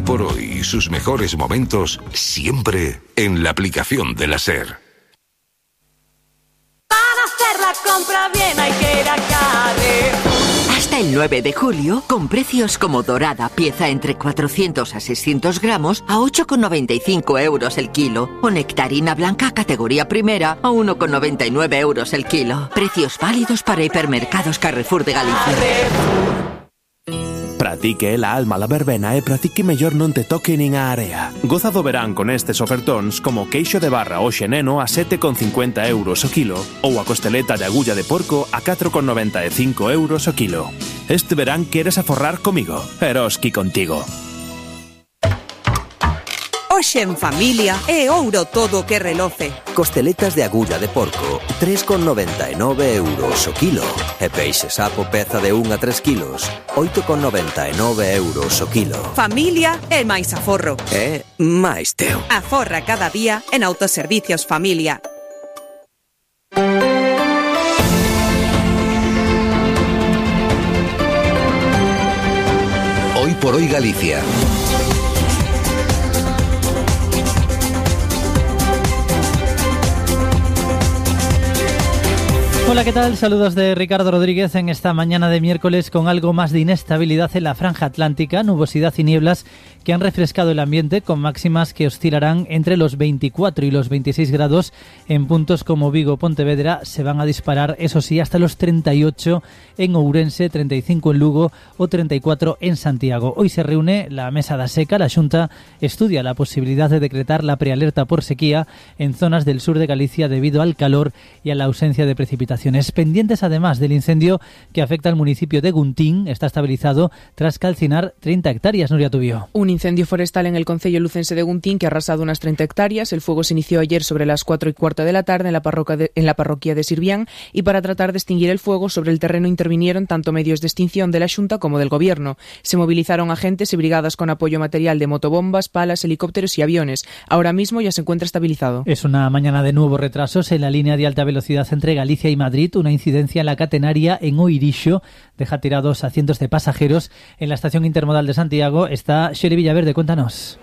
por hoy y sus mejores momentos siempre en la aplicación de la SER. Para hacer la compra bien hay que ir a Carrefour. Hasta el 9 de julio, con precios como dorada, pieza entre 400 a 600 gramos a 8,95 euros el kilo. O nectarina blanca categoría primera a 1,99 euros el kilo. Precios válidos para hipermercados Carrefour de Galicia. Pratique la alma la verbena e pratique mellor non te toque nin a area. Goza do verán con estes ofertóns como queixo de barra o xeneno a 7,50 euros o kilo ou a costeleta de agulla de porco a 4,95 euros o kilo. Este verán queres aforrar comigo, Eroski contigo. Hoxe en familia é ouro todo que reloce. Costeletas de agulla de porco, 3,99 euros o kilo. E peixe sapo peza de 1 a 3 kilos, 8,99 euros o kilo. Familia é máis aforro. É máis teu. Aforra cada día en Autoservicios Familia. Hoy por hoy Galicia. Hola, ¿qué tal? Saludos de Ricardo Rodríguez en esta mañana de miércoles con algo más de inestabilidad en la franja atlántica, nubosidad y nieblas que han refrescado el ambiente con máximas que oscilarán entre los 24 y los 26 grados en puntos como Vigo, Pontevedra. Se van a disparar, eso sí, hasta los 38 en Ourense, 35 en Lugo o 34 en Santiago. Hoy se reúne la Mesa da Seca. La Xunta estudia la posibilidad de decretar la prealerta por sequía en zonas del sur de Galicia debido al calor y a la ausencia de precipitaciones. Pendientes además del incendio que afecta al municipio de Guntín, está estabilizado tras calcinar 30 hectáreas. Nuria Tubío. Un incendio forestal en el concello lucense de Guntín que ha arrasado unas 30 hectáreas. El fuego se inició ayer sobre las 4:15 de la tarde en la parroquia de Sirvián, y para tratar de extinguir el fuego sobre el terreno intervinieron tanto medios de extinción de la Xunta como del Gobierno. Se movilizaron agentes y brigadas con apoyo material de motobombas, palas, helicópteros y aviones. Ahora mismo ya se encuentra estabilizado. Es una mañana de nuevos retrasos en la línea de alta velocidad entre Galicia y Madrid. Una incidencia en la catenaria en Oirixo deja tirados a cientos de pasajeros. En la estación intermodal de Santiago está Xeri Villaverde, cuéntanos.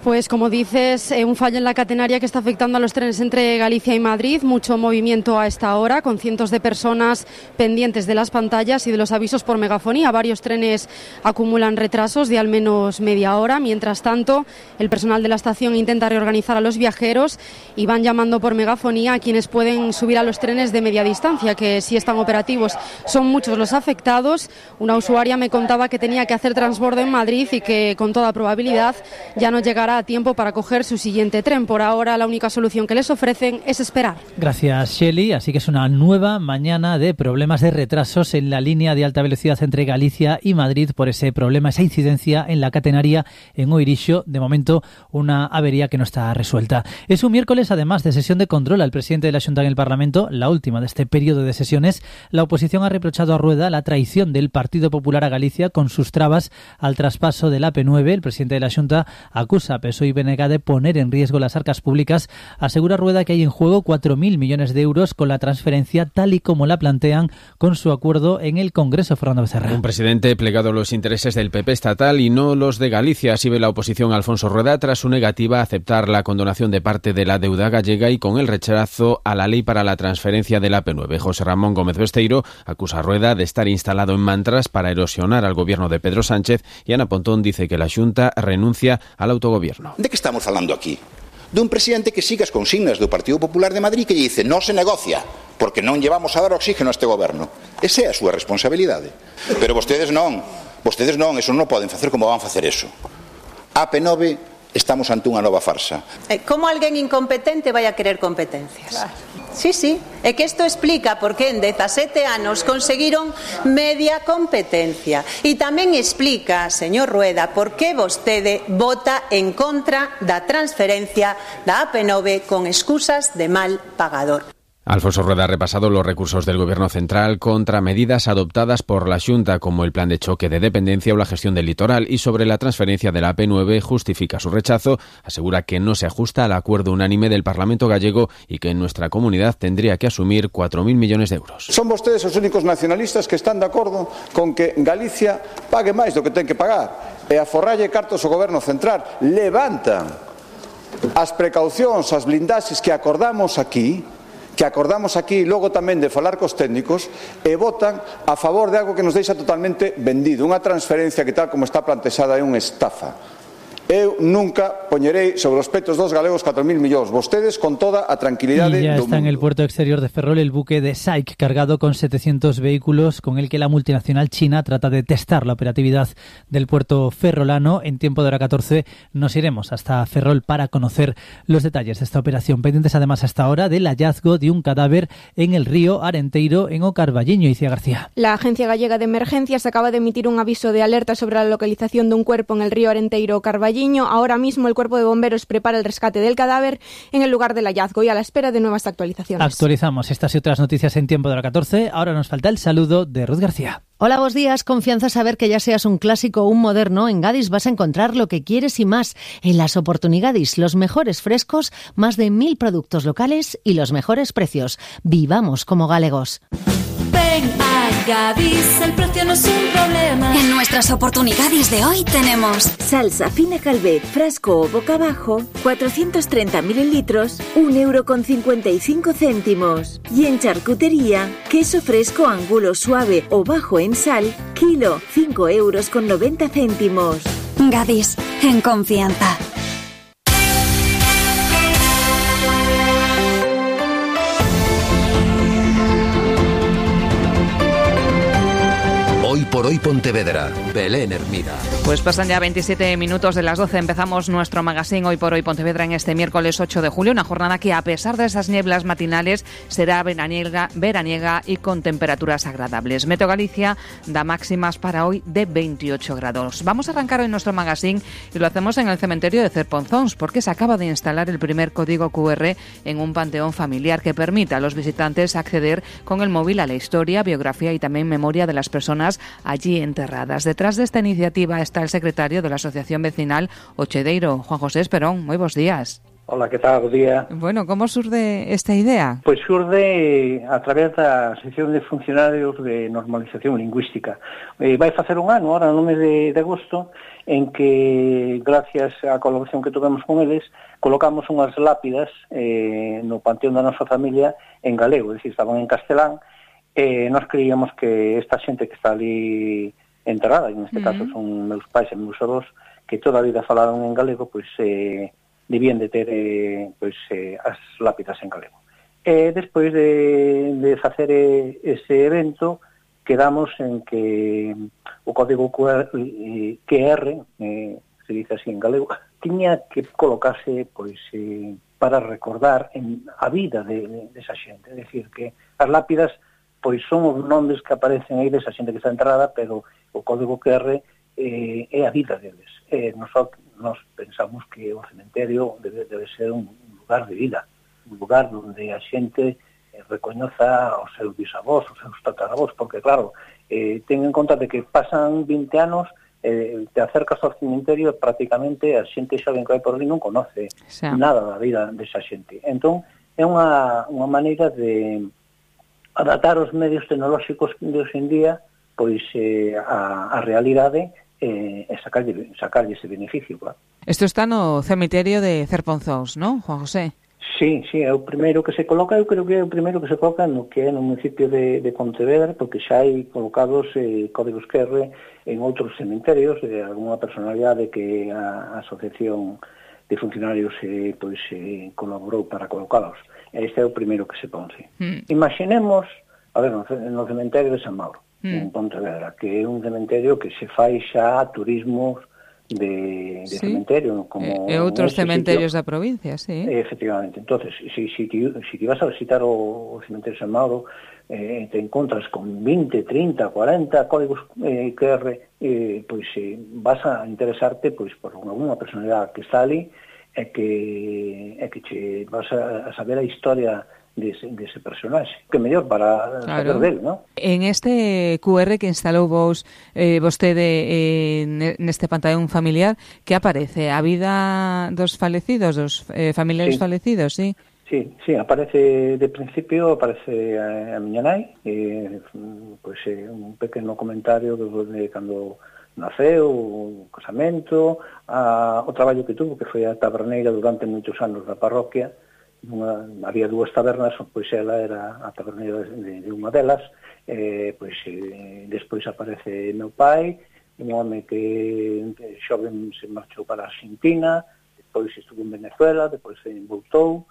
Pues como dices, un fallo en la catenaria que está afectando a los trenes entre Galicia y Madrid. Mucho movimiento a esta hora, con cientos de personas pendientes de las pantallas y de los avisos por megafonía. Varios trenes acumulan retrasos de al menos media hora. Mientras tanto, el personal de la estación intenta reorganizar a los viajeros y van llamando por megafonía a quienes pueden subir a los trenes de media distancia, que sí están operativos. Son muchos los afectados. Una usuaria me contaba que tenía que hacer transbordo en Madrid y que con toda probabilidad ya no llegará a tiempo para coger su siguiente tren. Por ahora la única solución que les ofrecen es esperar. Gracias, Shelley. Así que es una nueva mañana de problemas de retrasos en la línea de alta velocidad entre Galicia y Madrid por ese problema, esa incidencia en la catenaria en Oirixo. De momento una avería que no está resuelta. Es un miércoles además de sesión de control al presidente de la Xunta en el Parlamento, la última de este periodo de sesiones. La oposición ha reprochado a Rueda la traición del Partido Popular a Galicia con sus trabas al traspaso del AP9. El presidente de la Xunta acusa a PSOE y BNG de poner en riesgo las arcas públicas. Asegura Rueda que hay en juego 4.000 millones de euros con la transferencia tal y como la plantean con su acuerdo en el Congreso. Fernando Becerra. Un presidente plegado a los intereses del PP estatal y no los de Galicia. Así ve la oposición a Alfonso Rueda tras su negativa a aceptar la condonación de parte de la deuda gallega y con el rechazo a la ley para la transferencia del AP9. José Ramón Gómez Besteiro acusa a Rueda de estar instalado en mantras para erosionar al gobierno de Pedro Sánchez, y Ana Pontón dice que la Xunta renuncia al autogobierno. De que estamos falando aquí? Dun presidente que siga as consignas do Partido Popular de Madrid, que dice non se negocia, porque non llevamos a dar oxígeno a este goberno. Esa é a súa responsabilidade. Pero vostedes non, eso non poden facer. Como van facer eso? AP9, estamos ante unha nova farsa. Como alguén incompetente vai a querer competencias? Claro. Sí, é que isto explica por que en 17 anos conseguiron media competencia. E tamén explica, señor Rueda, por que vostede vota en contra da transferencia da AP9 con excusas de mal pagador. Alfonso Rueda ha repasado los recursos del Gobierno central contra medidas adoptadas por la Xunta, como el plan de choque de dependencia o la gestión del litoral, y sobre la transferencia de la AP9 justifica su rechazo. Asegura que no se ajusta al acuerdo unánime del Parlamento gallego y que en nuestra comunidad tendría que asumir 4.000 millones de euros. Son vostedes os únicos nacionalistas que están de acordo con que Galicia pague máis do que ten que pagar. e a forralle cartos o Goberno Central. Levantan as precaucións, as blindaxes que acordamos aquí, logo tamén de falar cos técnicos, e votan a favor de algo que nos deixa totalmente vendido, unha transferencia que tal como está plantexada é unha estafa. Eu nunca poñerei sobre os petos dos galegos 4.000 millóns. Vostedes con toda a tranquilidade y ya do está mundo. En el puerto exterior de Ferrol el buque de SAIC cargado con 700 vehículos con el que la multinacional china trata de testar la operatividad del puerto ferrolano. En tiempo de hora 14 nos iremos hasta Ferrol para conocer los detalles de esta operación. Pendientes además hasta ahora del hallazgo de un cadáver en el río Arenteiro en O Carballiño. Icía García. La Agencia Gallega de Emergencias acaba de emitir un aviso de alerta sobre la localización de un cuerpo en el río Arenteiro o Carballiño. Ahora mismo el cuerpo de bomberos prepara el rescate del cadáver en el lugar del hallazgo y a la espera de nuevas actualizaciones. Actualizamos estas y otras noticias en tiempo de la 14. Ahora nos falta el saludo de Ruth García. Hola, buenos días. Confianza saber que ya seas un clásico o un moderno, en Gadis vas a encontrar lo que quieres y más. En las Oportunigadis, los mejores frescos, más de 1.000 productos locales y los mejores precios. Vivamos como galegos. Ven a Gadis, el precio no es un problema. En nuestras Oportunigadis de hoy tenemos salsa fina Calvet, frasco o boca abajo, 430 mililitros, 1,55 €. Y en charcutería, queso fresco angulo suave o bajo en sal, kilo, 5,90 €. Gadis, en confianza. Hoy por hoy Pontevedra, Belén Hermida. Pues pasan ya 27 minutos de las 12. Empezamos nuestro magazine Hoy por hoy Pontevedra en este miércoles 8 de julio. Una jornada que, a pesar de esas nieblas matinales, será veraniega y con temperaturas agradables. Meteo Galicia da máximas para hoy de 28 grados. Vamos a arrancar hoy nuestro magazine y lo hacemos en el cementerio de Cerponzóns, porque se acaba de instalar el primer código QR en un panteón familiar que permite a los visitantes acceder con el móvil a la historia, biografía y también memoria de las personas allí enterradas. Detrás de esta iniciativa está el secretario de la Asociación Vecinal Ochedeiro, Juan José Esperón. Muy buenos días. Hola, que tal? Bo día. Bueno, como surde esta idea? Pois xurde a través da sección de funcionarios de normalización lingüística. Vai facer un ano, ahora no mes de agosto, en que, gracias á colaboración que tuvemos con eles, colocamos unhas lápidas no panteón da nosa familia en galego, é dicir, estaban en castelán. Nós creíamos que esta xente que está ali enterrada, en este caso son meus pais e meus avós, que toda a vida falaron en galego, pois debían de ter as lápidas en galego. Despois de facer ese evento, quedamos en que o código QR, se dice así en galego, tiña que colocarse para recordar a vida de esa xente, é dicir, que as lápidas pois son os nomes que aparecen aí desa xente que está enterrada, pero o código QR é a vida deles. Nos pensamos que o cementerio debe ser un lugar de vida, un lugar onde a xente recoñoza os seus bisavós, os seus tataravós, porque claro, ten en conta de que pasan 20 anos, te acercas ao cementerio e prácticamente a xente xa ben que vai por ali non conoce nada da vida desa xente. Entón, é unha maneira de adaptar os medios tecnolóxicos de hoxe en día pois a realidade e sacarlle ese beneficio, claro. Isto está no cemiterio de Cerponzóns, non, Juan José? Sí, é o primeiro que se coloca, eu creo que é o primeiro que se coloca no que é no municipio de Pontevedra, porque xa hai colocados códigos QR en outros cementerios de alguna personalidade que a Asociación de Funcionarios colaborou para colocalos. Este é o primeiro que se pon, sí. Imaginemos, a ver, no cementerio de San Mauro, en Pontevedra, que é un cementerio que se fai xa turismo de cementerio, como e outros cementerios da provincia, sí. Efectivamente. Entonces, si ti vas a visitar o cementerio de San Mauro, te encontras con 20, 30, 40 códigos QR, pois vas a interesarte pois por alguna personalidade que está ali, é que che vas a saber a historia dese personaxe, que mellor para saber del, non? En este QR que instalou vostede neste panteón familiar, que aparece? A vida dos falecidos, dos familiares falecidos, sí? Sí, aparece de principio, aparece a miña nai, un pequeno comentario de cando naceu, o casamento, o traballo que tuvo, que foi a taberneira durante moitos anos da parroquia. Había dúas tabernas, pois ela era a taberneira de unha delas. Despois aparece meu pai, un home que xoven se marchou para a Argentina, despois estuvo en Venezuela, despois voltou,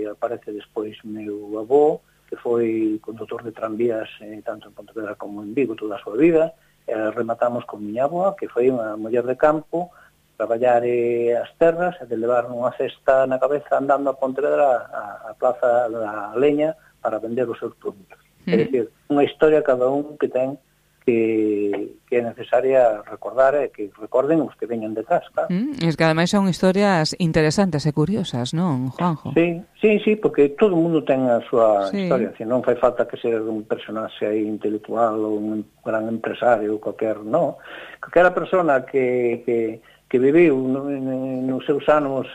aparece despois meu avó, que foi condutor de tranvías tanto en Pontevedra como en Vigo toda a súa vida. Rematamos con miña avó, que foi unha muller de campo, traballar as terras e de levar unha cesta na cabeza andando a Pontevedra a Plaza da Leña para vender os seus produtos. É dicir, unha historia cada un que ten que é necesaria recordar e que recorden os que veñan detrás, claro. Es que ademais son historias interesantes e curiosas, non, Juanjo? Sí, porque todo o mundo ten a súa historia, non fai falta que ser un personaxe intelectual ou un gran empresario ou calquera persona que viviu nos seus anos,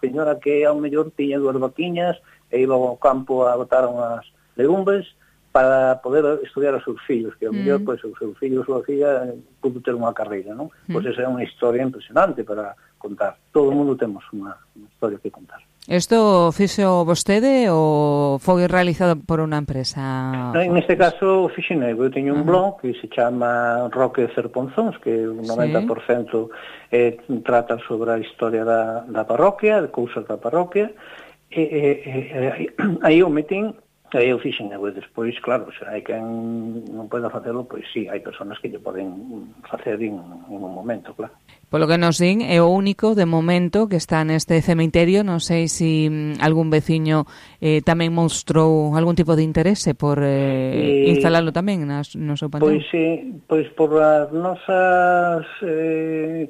señora que ao mellor tiña 2 vaquiñas e iba ao campo a botar unhas legumbres para poder estudiar os seus fillos, que ao mellor os seus fillos ou a filla pudo ter unha carreira, non? Pois esa é unha historia impresionante para contar. Todo o mundo temos unha historia que contar. Isto fixo vostede ou foi realizado por unha empresa? En este caso fixen eu teño un blog que se chama Roque Cerponzóns, que o 90% trata sobre a historia da parroquia, de cousas da parroquia, e aí o metín. Aí eu fixen eu, despois, claro, se hai quen non poida facelo, pois sí, hai personas que lle poden facer en un momento, claro. Polo que nos din, é o único de momento que está neste cemiterio. Non sei se algún veciño tamén mostrou algún tipo de interese por instalalo tamén no seu panteón. Pois por as nosas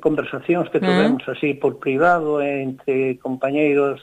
conversacións que tivemos así por privado entre compañeiros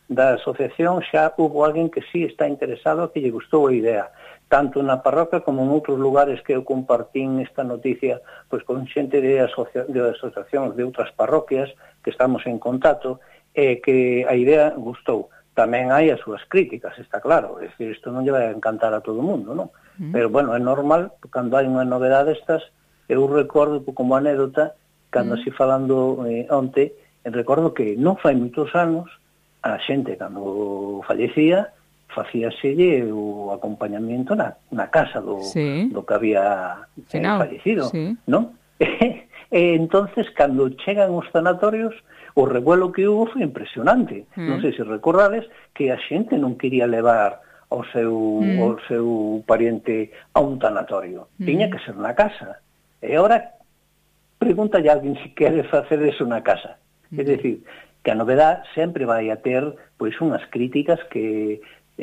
da asociación, xa hubo alguén que sí está interesado, que lle gustou a idea, tanto na parroquia como en outros lugares que eu compartín esta noticia pois con xente de asociacións de outras parroquias que estamos en contacto, e que a idea gustou. Tamén hai as súas críticas, está claro, é dicir, isto non lle vai a encantar a todo o mundo, non? Pero, bueno, é normal, cando hai unha novedade destas, eu recordo como anécdota, cando así falando onte, recordo que non fai moitos anos, a xente, cando fallecía, facíaselle o acompañamiento na casa do que había fallecido, non? E entonces, cando chegan os sanatorios, o revuelo que hubo foi impresionante. Non sei se recordades que a xente non quería levar ao seu pariente a un tanatorio. Tiña que ser na casa. E agora, pregúntalle a alguén se quere facer eso na casa. É dicir, que a novedade sempre vai a ter pois unhas críticas que